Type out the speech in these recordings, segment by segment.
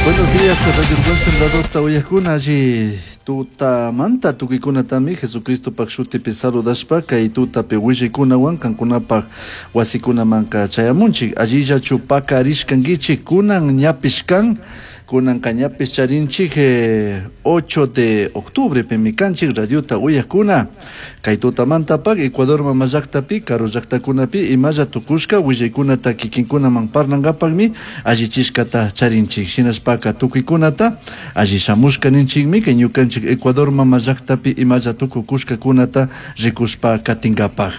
Buenos días, Radio Buen Sembrador uyajkuna alli tutamanta tukuykunatami Jesucristopak shutipi saludashpa kay tutapi willaykunawan kankunapak wasikunamanka chayamunchik. Allillachu pakarishkankichik kunan ñapish kan, kunanka ñapish charinchik 8 de octubre pimi kanchik radiota uyajkuna. Kay tutamantapak Ecuador mama llaktapi, karu llaktakunapi imalla tukushka willaykunata kikinkunaman parlankapakmi allichishkata charinchik. Shinashpaka tukuykunata alli shamushka ninchikmi kay ñukanchik Ecuador mama llaktapi imalla tukukushkakunata rikushpa katinkapak.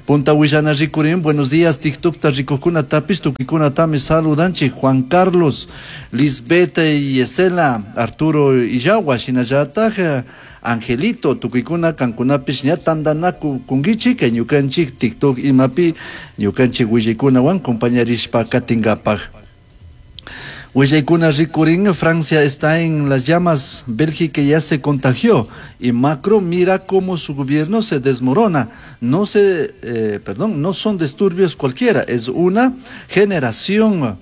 Punta willana rikurin, buenos días, TikTokta rikukunatapish tukuykunatami saludanchik. Juan Carlos, Lisbeth Yesela, Arturo Illawa, shinallatak Angelito, tukuykuna kankunapish ña tandanakunkichik kay ñukanchik TikTok imapi ñukanchik willaykunawan compañarishpa katinkapak. Willaykuna rikurin, Francia está en las llamas, Bélgica ya se contagió y Macron mira cómo su gobierno se desmorona. No se, perdón, no son disturbios cualquiera, es una generación.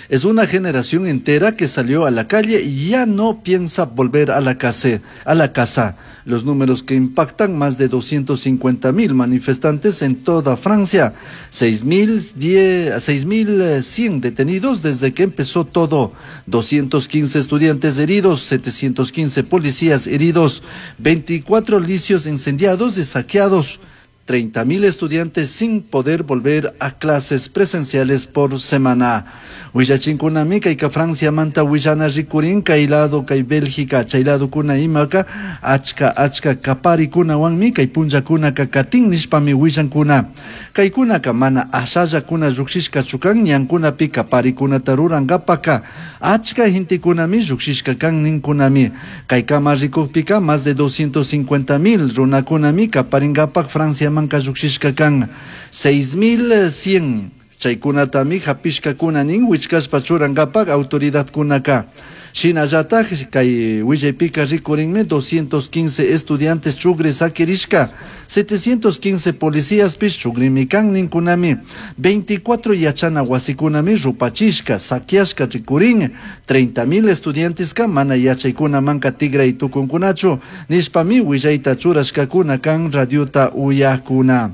Es una generación entera que salió a la calle y ya no piensa volver a la casa. A la casa. Los números que impactan, más de 250.000 manifestantes en toda Francia, 6.100 detenidos desde que empezó todo, 215 estudiantes heridos, 715 policías heridos, 24 licios incendiados y saqueados, 30.000 estudiantes sin poder volver a clases presenciales por semana. Willachinkunami kayka Francia manta willana rikurin kay lado kay Bélgica chay ladokuna imaka achka achka kaparikunawanmi kay punllakunaka katin nishpami willankuna. Kaykunaka mana ashallakuna llukshishkachu kan ñankunapi kaparikunata rurankapaka achka gentekunami llukshishka kan ninkunami. Kaykama rikukpika más de 250.000 runakunami kaparinkapak Francia manka llukshishka kan. 6.100 chaykunatami hapishkakuna nin wichkashpa churankapak autoridadkunaka. Shinallatak kay willaypika rikurinmi 215 estudiantes chugri sakirishka, 715 policíaspish chugrimi kan ninkunami, 24 yachana wasikunami rupachishka, saqueashka rikurin, 30.000 estudianteska mana yachaykunamanka tigray tukunkunachu, nishpami willayta churashkakuna kan radiota uyakuna.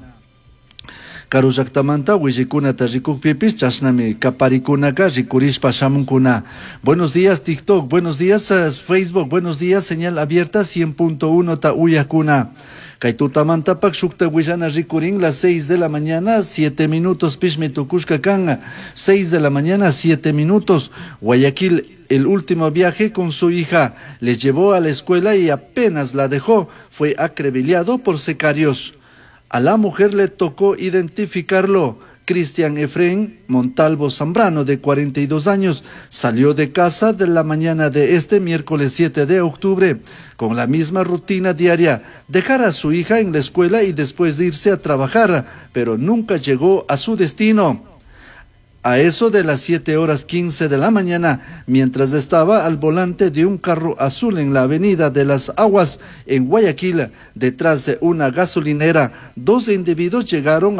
Karu llaktamanta willaykunata rikukpipish chashnami kaparikunaka rikurishpa shamunkuna. Buenos días TikTok, buenos días Facebook, buenos días señal abierta 100.1 ta uyakuna. Kay tutamantapak shukta willana rikurin las 6 de la mañana, 7 minutos pishmi tukushka kan, 6 de la mañana, 7 minutos. Guayaquil, el último viaje con su hija, le llevó a la escuela y apenas la dejó, fue acribillado por sicarios. A la mujer le tocó identificarlo. Cristian Efrén Montalvo Zambrano, de 42 años, salió de casa de la mañana de este miércoles 7 de octubre con la misma rutina diaria, dejar a su hija en la escuela y después de irse a trabajar, pero nunca llegó a su destino. A eso de las 7:15 de la mañana, mientras estaba al volante de un carro azul en la avenida de las Aguas, en Guayaquil, detrás de una gasolinera, dos individuos llegaron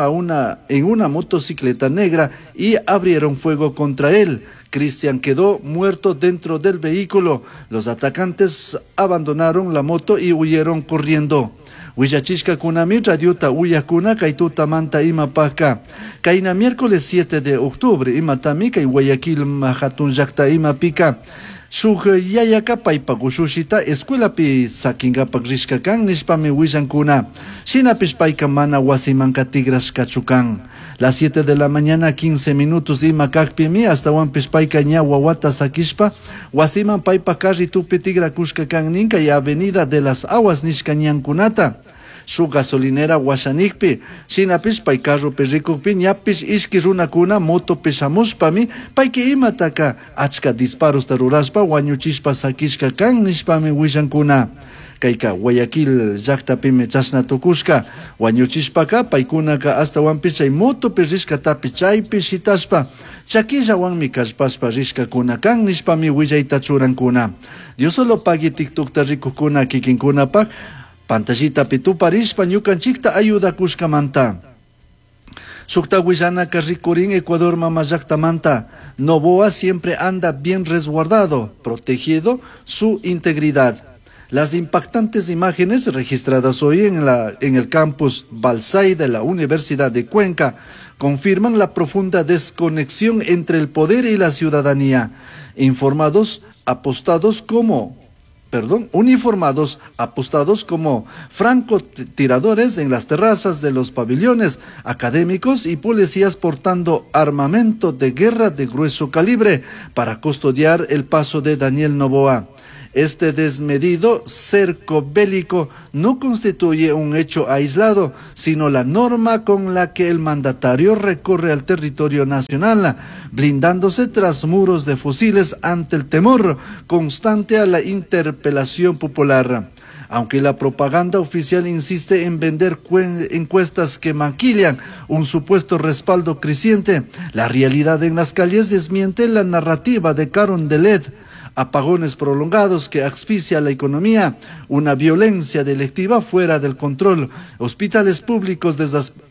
en una motocicleta negra y abrieron fuego contra él. Cristian quedó muerto dentro del vehículo. Los atacantes abandonaron la moto y huyeron corriendo. Willachishka kunami radiota uyakuna kay tutamanta imapaka. Kayna miércoles 7 de octubre imatami kay Guayaquil hatun llakta imapika. Shuk yayaka paypak ushushita escuelapi sakinkapak rishka kan nishpami willankuna. Shinapish payka mana wasimanka tigrashkachu kan. Las 7 de la mañana 15 minutos ima kakpimi astawanpish payka ña wawata sakishpa wasiman paypak carritupi tigrakushka kan nin kay avenida de las Aguas nishka ñankunata. Shuk gasolinera washanikpi, shinapish pay carropi rikukpi ñapish ishki runakuna motopi shamushpami payki imataka achka disparosta rurashpa wañuchishpa sakishka kan nishpami willankuna. Kayka Guayaquil llaktapimi chashna tukushka wañuchishpaka paykunaka astawanpish chay motopi rishkatapi chaypi shitashpa chakillawanmi kallpashpa rishkakuna kan nishpami willayta churankuna. Dios solo pagui TikTokta rikukuna kikinkunapak pantallitapi tuparishpa ñukanchikta ayudakushkamanta. Shukta willanaka rikurin Ecuador mama llaktamanta. Noboa siempre anda bien resguardado, protegido su integridad. Las impactantes imágenes registradas hoy en el campus Balsay de la Universidad de Cuenca confirman la profunda desconexión entre el poder y la ciudadanía. Informados, apostados como perdón, uniformados apostados como francotiradores en las terrazas de los pabellones académicos y policías portando armamento de guerra de grueso calibre para custodiar el paso de Daniel Noboa. Este desmedido cerco bélico no constituye un hecho aislado, sino la norma con la que el mandatario recorre al territorio nacional, blindándose tras muros de fusiles ante el temor constante a la interpelación popular. Aunque la propaganda oficial insiste en vender encuestas que maquillan un supuesto respaldo creciente, la realidad en las calles desmiente la narrativa de Carondelet. Apagones prolongados que asfixia la economía, una violencia delictiva fuera del control, hospitales públicos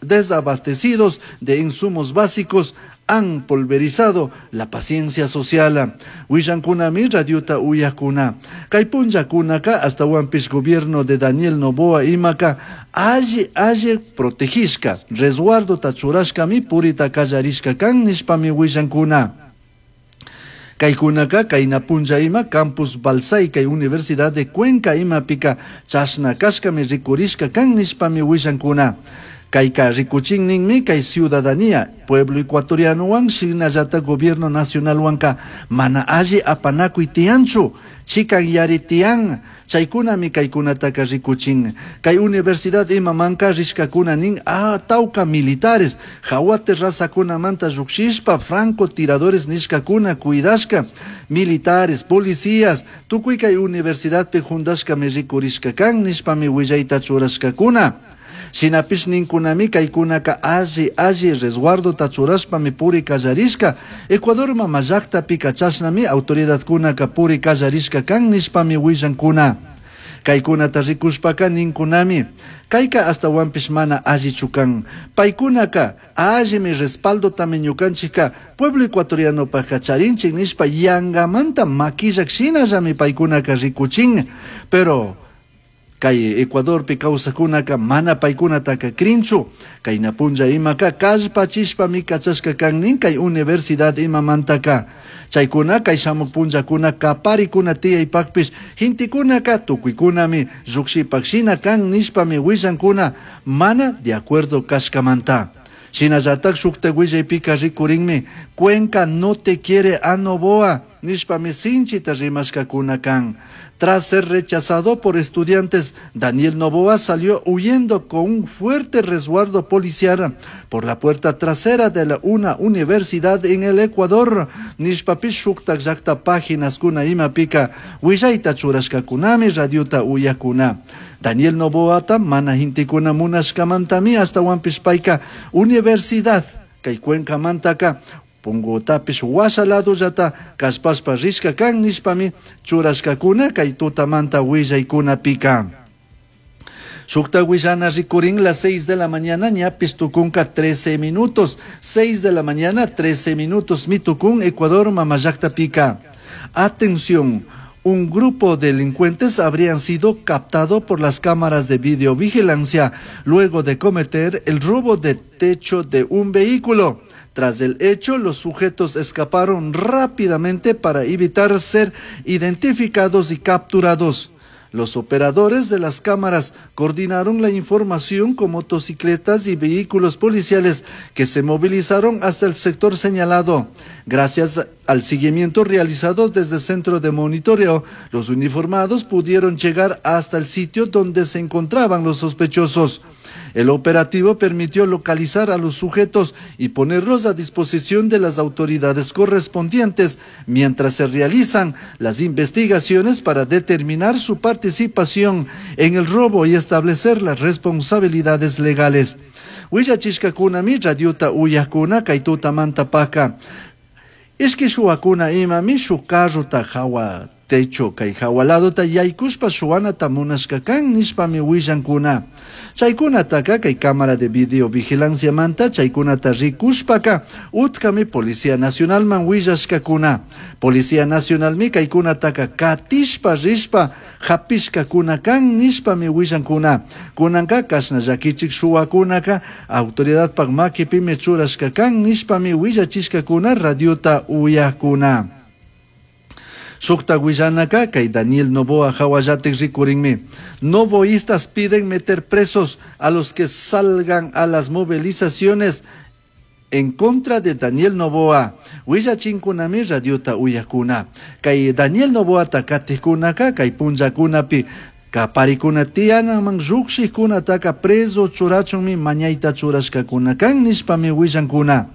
desabastecidos de insumos básicos han pulverizado la paciencia social. Willankunami radiota uyakuna. Kay punllakunaka hasta gobierno de Daniel Noboa imaka alli alli protegishka, resguardo tachurashkami purita kallarishka kan nishpami willankuna. Kaykunaka kayna punlla ima campus Balsay kay Universidad de Cuenca imapika chashna kashkami rikurishka kan nishpami willankuna. Kayka rikuchin ninmi kay ciudadanía pueblo ecuatoriano wan shinallata gobierno nacional wanka mana alli apanakuy tiyanchu chikan yari tiyan chaykunami kaykunataka rikuchin. Kay universidad imamanka rishkakuna nin tawka militares hawa terrazakunamanta llukshishpa francotiradores nishkakuna cuidashka militares policías tukuy kay universidadpi juntashkami rikurishka kan nishpami willayta churashkakuna. Shinapish ninkunami kaykunaka alli alli resguardo churashpami puri kallarishka Ecuador mama llaktapi chashnami autoridadkunaka puri kallarishka kan nishpami willankuna. Kaykunata rikushpaka ninkunami kayka astawanpish mana allichu kan paykunaka allimi respaldotami ñukanchikka pueblo ecuatorianopajka charinchik nishpa yangamanta makillak shinallami paykunaka rikuchin. Pero kay Ecuadorpi kawsakunaka mana paykunataka krinchu kayna punlla imaka kallpachishpami kachashka kan nin kay universidad imamantaka chaykuna kay shamuk punllakuna kaparikuna tiyaypakpish gintikunaka tukuykunami llukshipak shina kan nishpami willankuna mana de acuerdo kashkamanta. Shinallatak shukta willaypika rikurinmi Cuenca no te quiere a Noboa nishpami sinchita rimashkakuna kan. Tras ser rechazado por estudiantes, Daniel Noboa salió huyendo con un fuerte resguardo policial por la puerta trasera de una universidad en el Ecuador. Nishpapish shuktak llakta páginas kuna imapika willayta churashkakunami radiota uyakuna. Daniel Noboata mana hintikuna munashkamantami hasta payka universidad kay Cuenca mantaka pungotapish washa ladollata kallpashpa rishka kan nishpami churashkakuna kay tutamanta willaykunapika. Shukta willana rikurin las 6 de la mañana ñapis tukunka 13 minutos. 6 de la mañana 13 minutos mitukun Ecuador mama llaktapika. Atención. Un grupo de delincuentes habrían sido captado por las cámaras de videovigilancia luego de cometer el robo de techo de un vehículo. Tras el hecho, los sujetos escaparon rápidamente para evitar ser identificados y capturados. Los operadores de las cámaras coordinaron la información con motocicletas y vehículos policiales que se movilizaron hasta el sector señalado. Gracias al seguimiento realizado desde el centro de monitoreo, los uniformados pudieron llegar hasta el sitio donde se encontraban los sospechosos. El operativo permitió localizar a los sujetos y ponerlos a disposición de las autoridades correspondientes mientras se realizan las investigaciones para determinar su participación en el robo y establecer las responsabilidades legales. Willachishkakunami radiota uyakuna kay tutamanta paka. Ishki shuwakuna imami shuk carrota hawa. Techo kay jahua ladota yaykushpa shuwanata munashka kan nishpami willankuna. Chaykunataka kay cámara de videovigilanciamanta chaykunata rikushpaka utkami Policía Nacionalman willashkakuna. Policía Nacionalmi kaykunataka katishpa rishpa hapishkakuna kan nishpami willankuna. Kunanka kashna llakichik shuwakunaka autoridadpak makipimi churashka kan nishpami willachishkakuna radiota uyakuna. Shukta willanaka kay Daniel Noboa hawallatik rikurinmi. Noboístas piden meter presos a los que salgan a las movilizaciones en contra de Daniel Noboa. Willachinkunami radiota uyakuna. Kay Daniel Noboata katikkunaka kay punllakunapi kaparikuna tiyanaman llukshikkunataka preso churachunmi mañayta churashkakuna kan nishpami willankuna.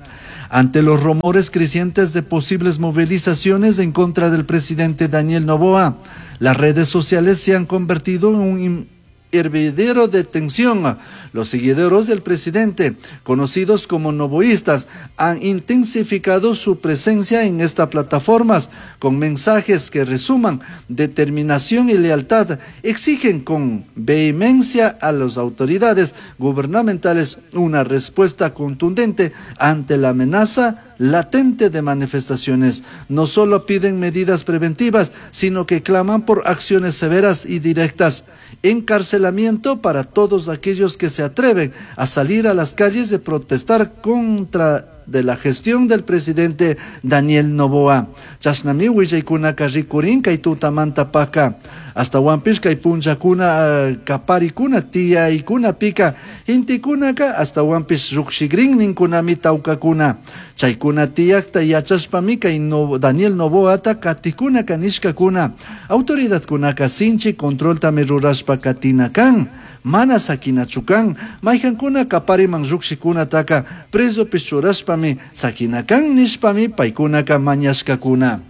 Ante los rumores crecientes de posibles movilizaciones en contra del presidente Daniel Noboa, las redes sociales se han convertido en un hervidero de tensión. Los seguidores del presidente, conocidos como noboístas, han intensificado su presencia en estas plataformas con mensajes que resuman determinación y lealtad. Exigen con vehemencia a las autoridades gubernamentales una respuesta contundente ante la amenaza latente de manifestaciones. No solo piden medidas preventivas, sino que claman por acciones severas y directas. Encarcelamiento para todos aquellos que se atreven a salir a las calles de protestar contra de la gestión del presidente Daniel Noboa. Chashnami willaykunaka rikurin kay tutamanta paka. Ashtahuanpish kay punllakuna kaparikuna tiyaykunapika intikunaka ashtahuanpish llukshikrin ninkunami tawkakuna. Chaykuna tiyakta yachashpami kay Daniel Noboata katikunaka nishkakuna. Autoridadkunaka sinchi controltami rurashpa katina kan. Mana sakinachu kan. Maykankuna kapariman llukshikunataka presopish churashpami sakina kan nishpami paykunaka mañashkakuna.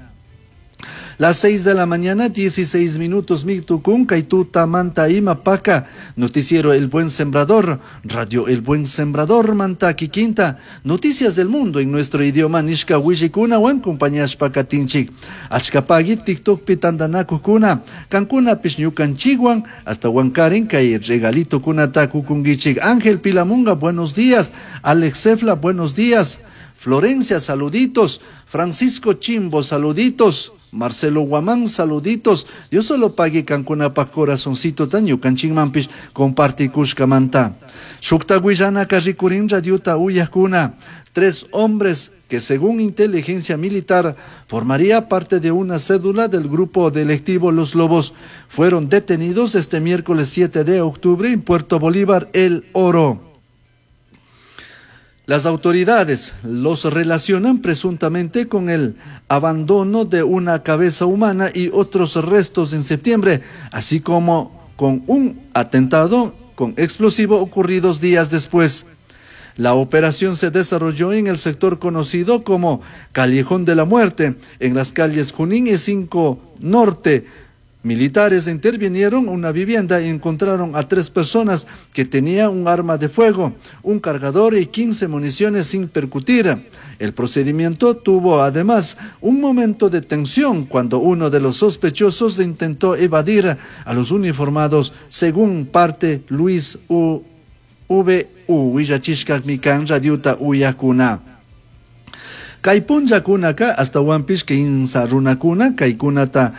Las 6 de la mañana, 16 minutos, mitucun, kay tutamanta ima paka, Noticiero El Buen Sembrador, Radio El Buen Sembrador, Mantaki Quinta, Noticias del Mundo en nuestro idioma, Nishka Wishikuna, wan compañías pakatinchik, Achkapagi, TikTok pitandanaku kuna, Cancuna Pishñukan Chiguan, hasta Huancarin, kay regalito kuna takukungichik, Ángel Pilamunga, buenos días, Alex Cefla, buenos días, Florencia, saluditos, Francisco Chimbo, saluditos, Marcelo Guamán, saluditos. Dios solo pague kankunapaj corazoncito taño kanchinmanpish comparti kushkamanta. Shukta willanaka rikurin radiota uyakuna. Tres hombres que según inteligencia militar formaría parte de una cédula del grupo delictivo Los Lobos fueron detenidos este miércoles 7 de octubre en Puerto Bolívar, El Oro. Las autoridades los relacionan presuntamente con el abandono de una cabeza humana y otros restos en septiembre, así como con un atentado con explosivo ocurridos días después. La operación se desarrolló en el sector conocido como Callejón de la Muerte, en las calles Junín y 5 Norte. Militares intervinieron en una vivienda y encontraron a 3 personas que tenían un arma de fuego, un cargador y 15 municiones sin percutir. El procedimiento tuvo además un momento de tensión cuando uno de los sospechosos intentó evadir a los uniformados, según parte Luis U. V. U. Willachishka mikan radiuta uyakuna. Kay punllakunaka hasta huanpish kinsa runakuna kaykunata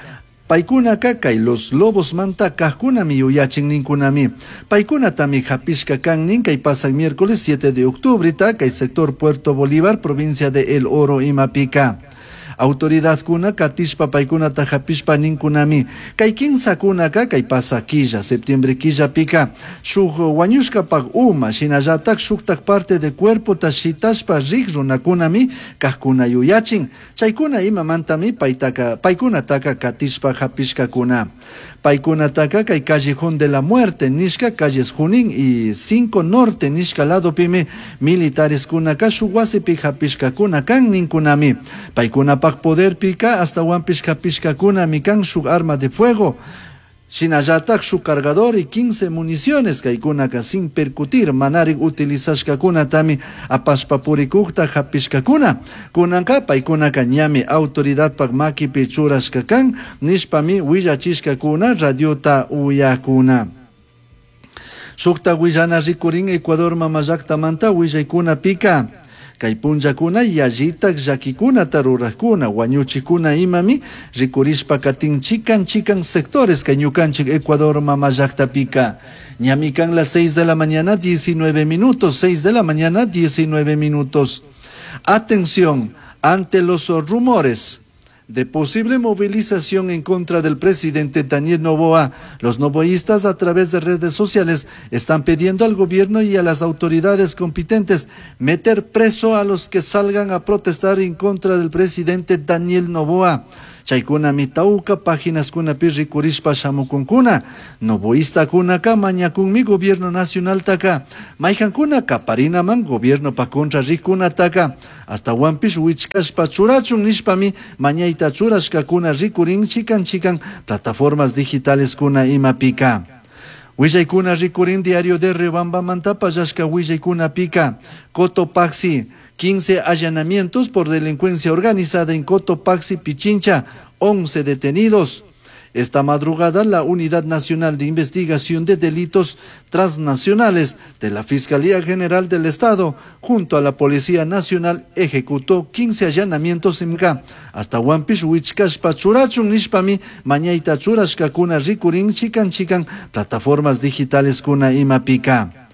paykunaka kay Los Lobos manta kajkunami yuyachin ninkunami. Paykunatami hapishka kan nin kay pasak miércoles 7 de octubre ta kay sector Puerto Bolívar, provincia de El Oro imapika. Autoridad kuna katishpa paykunata hapishpa ninkunami. Kay kinsa kunaka kay pasa quilla, septiembre quilla pika. Shuk wañushkapak uma, shinallatak shuktak parte de cuerpo ta shitashpa rik runakunami kajkuna yuyachin. Chaykuna imamantami paytaka, paykunataka katishpa hapishkakuna. Paykunataka kay Callejón de la Muerte, nishka calles Junín y 5 Norte, nishka lado pime, militares kunaka shuk wasipi hapishkakuna kan ninkunami. Paykunapak poder pika hasta huanpish hapishkakuna mikan shuk arma de fuego. Shinallatak shuk cargador y 15 municiones kaykunaka sin percutir manarik utilizashkakunatami apashpa purikukta hapishkakuna. Kunanka paykunaka ñami autoridadpak makipi churashka kan nishpami willachishkakuna radiota uyakuna. Shukta willana rikurin Ecuador mamallaktamanta willaykunapika. Kay punllakuna yallitak llakikunata rurakkuna wañuchikuna imami rikurishpa katin chikan chikan sectores kay ñukanchik Ecuador mamallaktapika. Ñami kan las 6 de la mañana 19 minutos, 6 de la mañana 19 minutos. Atención, ante los rumores de posible movilización en contra del presidente Daniel Noboa. Los noboístas a través de redes sociales están pidiendo al gobierno y a las autoridades competentes meter preso a los que salgan a protestar en contra del presidente Daniel Noboa. Chaykunami tawka paginaskunapi rikurishpa shamukunkuna. Noboistakunaka mañakunmi gobierno nacionaltaka. Maykankuna kaparinaman gobiernopa contra rikunataka. Ashtahuanpish wichkashpa churachun nishpami mañayta churashkakuna rikurin chikan chikan plataformas digitaleskuna imapika. Willaykuna rikurin diario de Riobambamanta pallashka willaykunapika. Cotopaxi, 15 allanamientos por delincuencia organizada en Cotopaxi, Pichincha, 11 detenidos. Esta madrugada, la Unidad Nacional de Investigación de Delitos Transnacionales de la Fiscalía General del Estado, junto a la Policía Nacional, ejecutó 15 allanamientos en K. Ashtahuanpish wichkashpa churachun nishpami mañayta churashkakuna rikurin chikan chikan plataformas digitaleskuna imapika.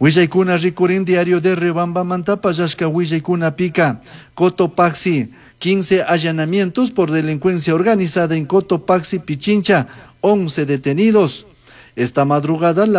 Willaykuna rikurin diario de Riobambamanta pallashka willaykunapika. Cotopaxi, 15 allanamientos por delincuencia organizada en Cotopaxi, Pichincha, 11 detenidos. Esta madrugada la.